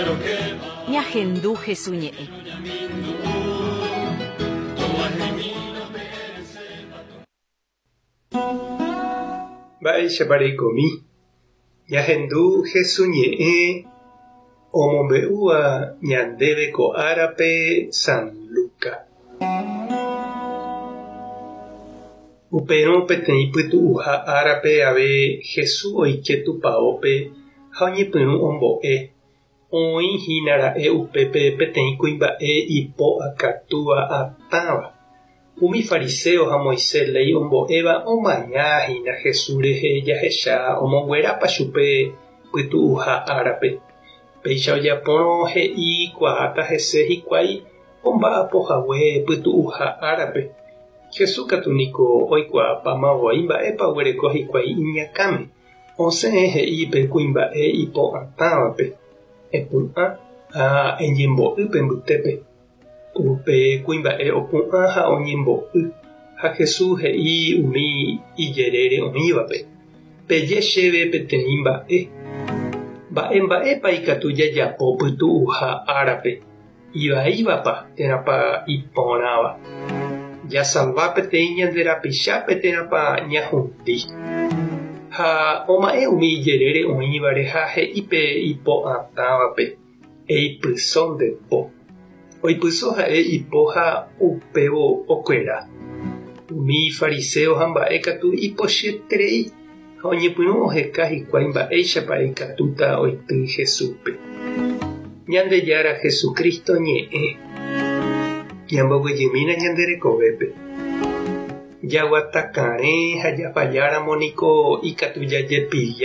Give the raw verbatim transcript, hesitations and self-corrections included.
Ñahendu Hesu ñe'ẽ. Mba'éichapa reikomi. Ñahendu Hesu ñe'ẽ omombe'úva ñandéve ko árape San Luca. Upérõ peteĩ pytu'uha árape ave Jesús oike tupãópe ha oñepyrũ ombo'e. Oĩhínara'e upépe peteĩ kuimba'e ipo akatúa atãva. Umi fariseo ha Moisés léi ombo'éva omañahína Jesús rehe jahecha omonguerápa chupe pytu'uha árape. Péicha ojapórõ he'ikuaáta hese hikuái omba'apohague pytu'uha árape. Jesús katu niko oikuaapamavoi mba'épa oguereko hikuái iñakãme. Osẽ he'i pe kuimba'e ipo atãvape. Epu'ã ha eñembo'ýpe mbytépe. Upe kuimba'e opu'ã ha oñembo'y ha Jesús he'i umi ijerére oĩvape. Peje chéve peteĩ mba'e. Mba'emba'épa ikatu jajapo pytu'uha árape. Ivaívapa térãpa iporãva. Jasalva peteĩ ñande rapichápe térãpa ñahundi. Ha oma'ẽ umi ijerére oĩvare ha he'i pe ipo atãvape. Eipyso nde po. Oipyso ha'e ipo ha upévo okuera. Umi fariseo ha mba'e katu ipochyeterei ha oñepyrũ oheka hikuái mba'éichapa ikatúta oity Jesúspe. Ñandejára Jesucristo ñe'ẽ. Ñamboguejymína ñande rekovépe. Jaguatakarẽ ha japalláramo niko ikatu jajepilla.